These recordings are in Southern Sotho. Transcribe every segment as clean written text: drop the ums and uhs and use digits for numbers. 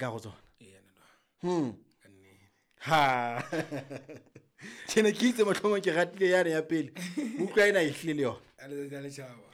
Ka go tsona. Ee, ntate wa ka. Ka nnete. Ha. Ke ne ke itse mohlomong ke ratile yane ya pele. Utlwa ena e hlile le yona. Ya letsatsi la letjhaba.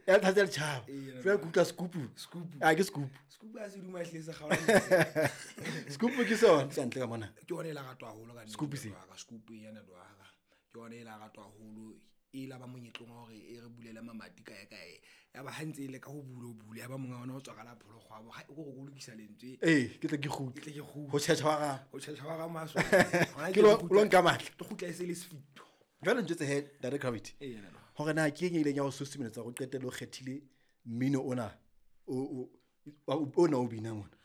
Ya letsatsi la letjhaba. Ee, Jwale ke utlwa scoop. Scoop. Ah, ke scoop. Scoop ha se duma ehlile se kgaola metsi. Scoop ke sona ka ntle ka mona. Ke yona e la ratwa haholo ka nnete, Scoop se? ntate wa ka. Scoop e ya ntate wa ka. Ke yona e la ratwa haholo. E la ba monyetleng wa hore e re bulele mamati kae kae. Ya ba ha ntse e leka ho bula, ho bula. Ya ba monga ona o tswa ka la pholokgwabo. Ha, o ko re ke o lokisa lentswe. Ee, ke tle ke kgutle. Ke tle ke kgutle. Ho tjhetjha wa gago. Ho tjhetjha wa ga maswe. Hona Ke ke lo nka matla. Ke kgutla e se le sefito. Jwale ntjwetse he, Ntate Gravity. Ee, ntate wa ka. Hore na ke eng e ileng ya ho susumeletsa hore o qetelle o kgethile mmino ona o binang ona?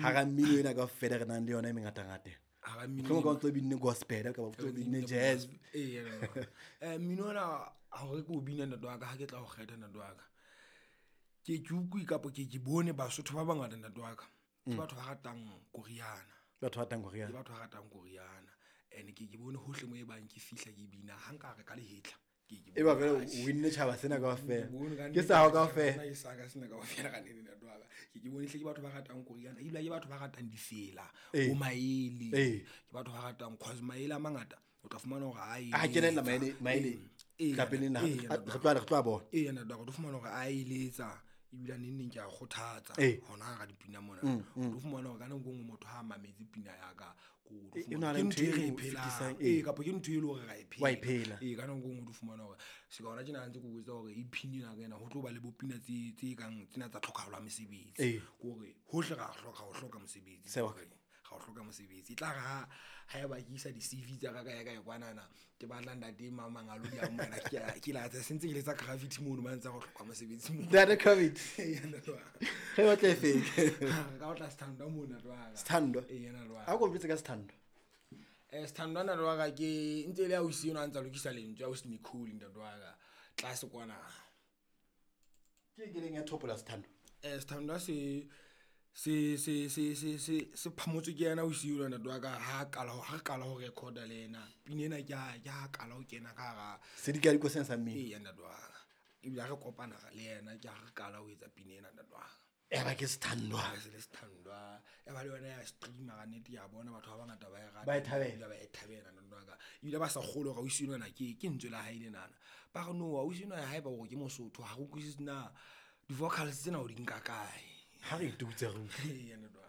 Hara mmino ena kaofela re nang le yona e mengatangata. Hara mmino Mohlomong ka ena. o ntso binne gospel kapa o ntso binne jazz. Ee, ntate wa ka. Mmino ona hore ke o bina ntate wa ka, ha ke tla ho kgetha ntate wa ka. Ke ke utlwe kapa ke ke bone Basotho ba bangata ntate wa ka. Ke batho ba ratang koriana. Batho ba ratang koriana. Ke batho ba ratang koriana. And ke ke bone hohle mo e bang ke fihla ke bina, ha nka re ka lehetla. Ke ke E ba fela bone o winne tjhaba sena kaofela. Ke bone ka Ke nnete sa hao ka kaofela. Nna ke sa ka sena kaofela ka nnete ntate wa ka. Ke ke bone hle ke batho ba ratang koriana, ebile ke batho ba ratang difela, bo maele. Ke batho ba ratang cause maele a mangata o tla fumana hore a A kenella eletsa. maele, maele. Ee, Ka pele na, ee, ntate wa re tloha, re tloha bona. Ee, ntate wa ka, o tlo fumana hore a eletsa, ebile neng neng ke a kgothatsa hona hara dipina mona. O tlo fumana hore ka nako e nngwe motho ha a mametse pina ya ka, ko o tlo E fumana na le ke ntho ntho e re e e o phelang. fetisang, Ee, kapa ke ntho e leng hore ra e Wa e phela. phela. Ee, ka nako e nngwe o tlo fumana hore se ka hona tjena ha ntse ke o jwetsa hore e pin ena ka ena, ho tlo ba le bo pina tse kang tsena tsa tlhokahalo ya mesebetsi. Ke hore hohle ra hloka, ho hloka mosebetsi. Sewa. Ga o hloka mosebetsi. E tla re ha eba ke isa di-C_V tsa ka kae kae kwanana, ke batla ntate mang a lo di amohela, ke a, ke la tsa sentse ke letsa Gravity mono, ba ntse ba hloka mosebetsi mono. Ntate Gravity. Ee, ntate wa ka. Ge batla e feng? Re ka otla Sthandwa mono, ntate wa ka. Sthandwa? Ee, ntate wa ka. A ko mpitse ka Sthandwa. Sthandwa ntate wa ka ke ntse e le ausi enwa a ntsa lokisa lentswe, ausi Nicole ntate wa ka. Tlase kwana. Ke eng e leng ya thopola Sthandwa? Sthandwa se se se se se se se phamotswe ke yena ausi enwa ntate wa ka, ha qala ho, ha re qala ho record-a le yena. Pina ena ke ha, ke ha qala ho kena ka hara Sedikadiko sena sa mmino. Ee, ntate wa ka. Ebile ha re kopana le yena ke ha re qala ho etsa pina ena ntate wa ka. Ya ba ke Sthandwa. Ya se le Sthandwa. Ya ba le yona ya stream-a ka nnete, ke a bona batho ba bangata ba e rata. Ba e thabela. Ebile ba e thabela ntate wa ka. Ebile ba sa kgolwe hore ausi enwana ke ntswe la hae lenana. Ba re no, ausi enwa haeba hore ke Mosotho, ha re utlwisise na di-vocals tsena o di nka kae. Ha re itutse re utlwe. Ee, ntate wa